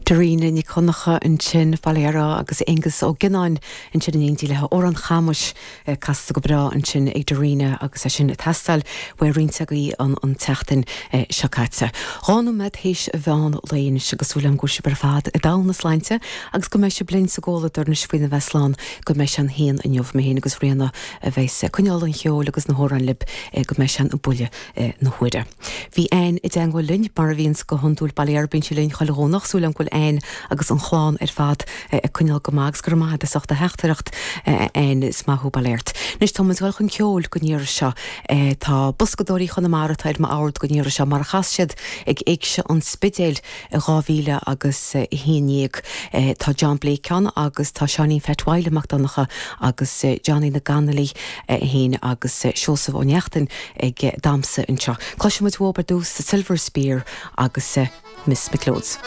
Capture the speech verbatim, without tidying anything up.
Dairena Nic Dhonncha ansin Bailera agus Aengus Ó Gionnáin ansin in éindí le Amhrán Chamuis eh, casta go breá ansin ag Dairena agus é sin ag teastáil uaidh roinnt agaibh an an tseachtain eh, seo caite. Dhá nóiméad théis an mheán lae anois agus súil agam go bhfuil sibh ar fad i dtogha na sláinte agus go mbeidh sibh linn sa gcomhluadar anois faoina bheith slán go mbeidh sé an haon inniu mé féin agus Ríona a bheas ag coinneáil an cheoil agus na hamhráin libh eh, go mbeidh sé an buille na huaire. Bhí Ann i dteagmháil linn mar a bhíonns go hiondúil bail bíonn sí linn chuile Dhomhnach súil agam go bhfuil Ann agus an chlann ar fad ag coinneáil go maith agus go maith as ucht a theachtaireacht Ann is maith thú bail ort. Anois tá muid chun ceoil don iarraidh seo tá Boscadóirí Chonamara ar m'ord don iarraidh seo mar a chas siad ag Éigse an Spidéil i dhá mhíle agus a haon déag tá John Blake ann agus tá Seáinín Pheait Mhaidhc Mac Donncha agus Johnny na Ganalaí féin agus Seosamh Ó Neachtain ag damhsa anseo. Cloisfimid uathub ar dtús Silver Spear agus Miss McLeod's.